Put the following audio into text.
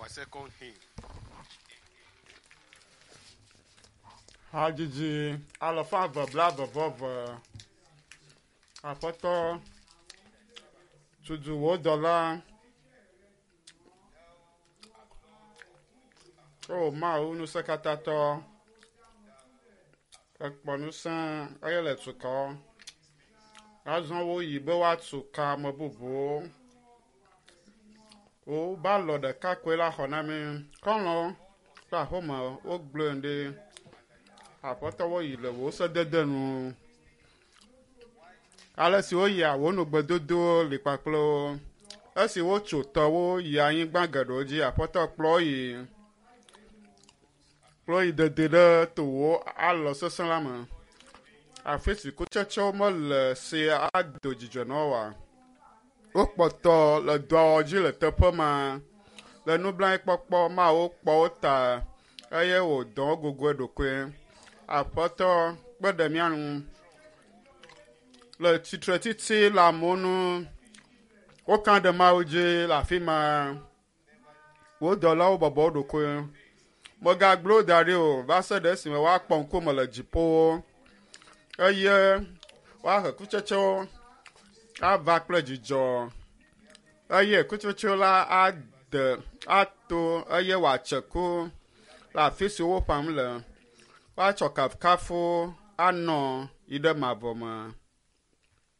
Our second hymn. Hadzidzi alafa eve blaeve-vɔ-eve. Aƒetɔ tutu wò dɔla. O Mawu ŋusẽkatãtɔ, ekpɔ ŋusẽ eye le tu ka wo. Azɔ woyi be woatu ka ame bubuwo. Wobe alɔ ɖeka koe la xɔ na mí. Xɔlɔ̃wo kple aƒeme wogblɔe ɖi. Aƒetɔ woyi le wò sedede nu. Ale si woyia wò nugbedodowo li kpakple wo. Esi wotso tɔwo yi anyigba geɖewo dzi, aƒetɔ kplɔ wo yi kplɔ wo yi dede ɖe towò alɔ sesẽ la me. Afi si kutsetsewo mele si ado dzidzɔ na woa. Wokpɔtɔ le dɔa dzi le teƒe ma. Le nublanuikpɔkpɔ Mawu kpɔ wo ta eye wòdɔ wo gogo eɖokui. Aƒetɔ kpe ɖe mía ŋu le tsitretsitsi le amewo ŋu. Woka ɖe Mawu dzi le afi ma. Wò dɔlawo bɔbɔ wo ɖokui. Mègagblẽ wo da ɖi o va se ɖe esime woakpɔ ŋkume le dziƒowo eye woahe kutsetsewo ava kple dzidzɔ eye kutsetsewo la ade ato eye wòatse ku le afi si woƒam le. Woatsɔ kafukafu anɔ yi ɖe mavɔ me.